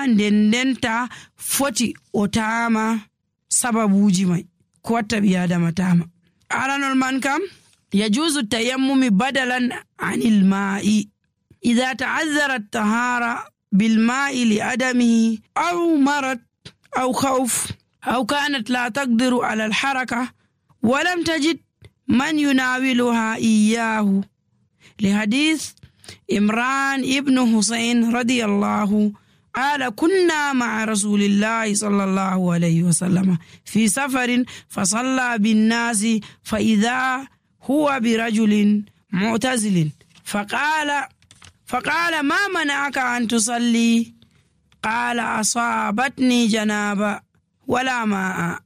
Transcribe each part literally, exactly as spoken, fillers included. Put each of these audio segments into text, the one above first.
nden ndenta foti o taama sababuuji may ko watta ɓi adama taama. aranol man kam yajuzu tayammumi badalan anil ma'i idha ta'azzara at-tahara bil ma'i li adamihi aw marad aw khawf aw kanat la taqdiru ala al-haraka wa lam tajid man yunawiluha iyyahu li hadith Imran ibn Husayn radiyallahu قال كنا مع رسول الله صلى الله عليه وسلم في سفر فصلى بالناس فإذا هو برجل معتزل فقال فقال ما منعك أن تصلي قال أصابتني جنابة ولا ماء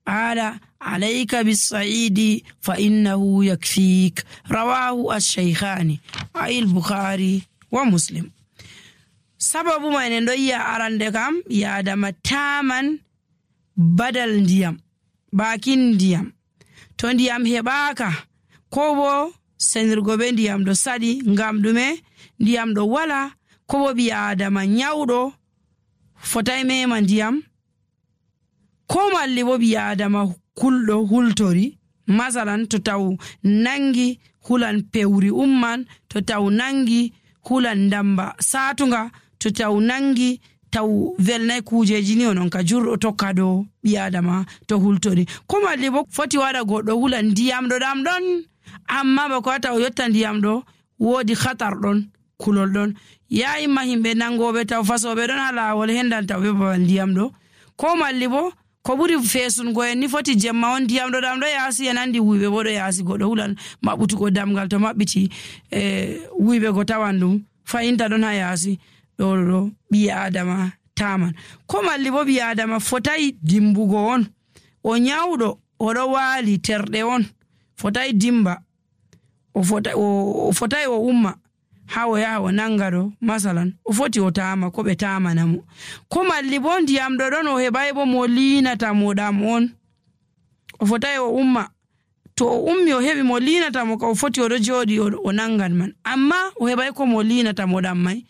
قال عليك بالصعيد فإنه يكفيك رواه الشيخان أي البخاري ومسلم. sababu mai nen do iya arande kam ya adama taman badal ndiyam bakin ndiyam to ndiyam hebaka ko bo senirgo be ndiyam do sadi ngam dume ndiyam do wala ko bo bi adama nyawdo fotay mema ndiyam ko malli bo bi adama kuldo hultori masalan to taw nangi hulan pewri umman to taw nangi hulan ndamba satunga to taw nangi taw velnay kujeji ni onon ka jurdo tokka do bi adama to hultori ko malli bo foti wada goddo hulan ndiyam do dam don amma ba ko taw yotta ndiyam do wodi khatar don kulol don yayi mahimbe nangobe taw fasobe don hala wol hendan taw be ba ndiyam do ko malli bo ko buri fesun go en ni foti jemma on ndiyam do dam do yasi enandi wiibe bo do yasi goddo hulan mabutu go damgal to mabbiti e wiibe go tawandum fayinta don ha yasi do do bi adama taman ko malli bo bi adama fotai dimbugo on o nyawdo o do wali terde on fotai dimba o fotai o fotai o umma hawo yawo nangado masalan o foti o taama ko be taama namu ko malli bo ndiyam do don o hebay bo mo linata mo dam on o fotai o umma to o ummi o hebi mo linata mo ko foti o do jodi o nangan man amma o hebay ko mo linata mo dam mai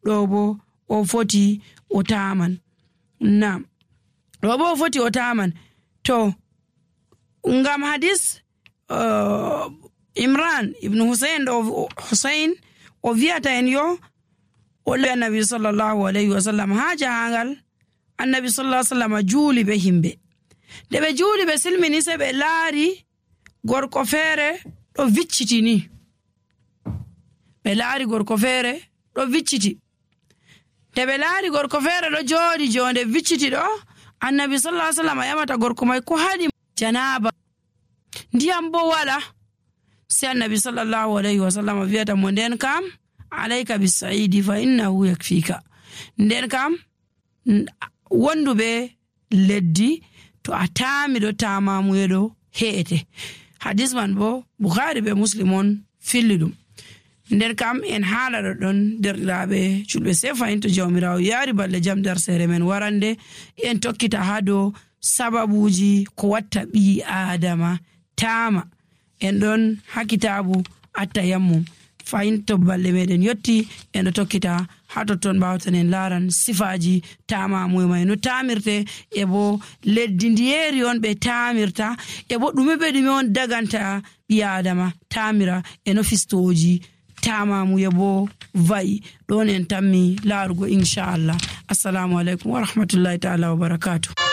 do bo o foti o taaman na do bo o foti o taaman to ngam hadis uh, Imran ibn Husayn do Husayn o viata en yo o le annabi sallallahu alayhi wa sallam ha jahangal annabi sallallahu alayhi wa sallam juuli be himbe de be juuli be silmini se be laari gorko feere do viccitini be laari gorko feere do vicciti de be laari gorko feere do joodi jonde vicciti do annabi sallallahu alayhi wa sallam yamata gorko mai ko hadi janaba ndiyam bo wala sai annabi sallallahu alaihi wasallam viata mo nden kam alayka bisaidi fa innahu yakfika nden kam wondube leddi to atami do tamamu edo heete hadis man bo bukhari be muslimon fillidum nden kam en haala do don derlaabe julbe sefa into jawmirawo yari balle jam dar sere men warande en tokkita hado sababuji ko watta bi adama tama en don hakitabu atayammum fayin to balle meden yotti en do tokkita hato ton bawtan en laran sifaji tama moy no tamirte e bo leddi ndieri on be tamirta e bo dume be dum on daganta bi adama tamira e no fistoji tama mu yebo vai don en tammi larugo inshallah. Assalamu alaikum wa rahmatullahi ta'ala wa barakatuh.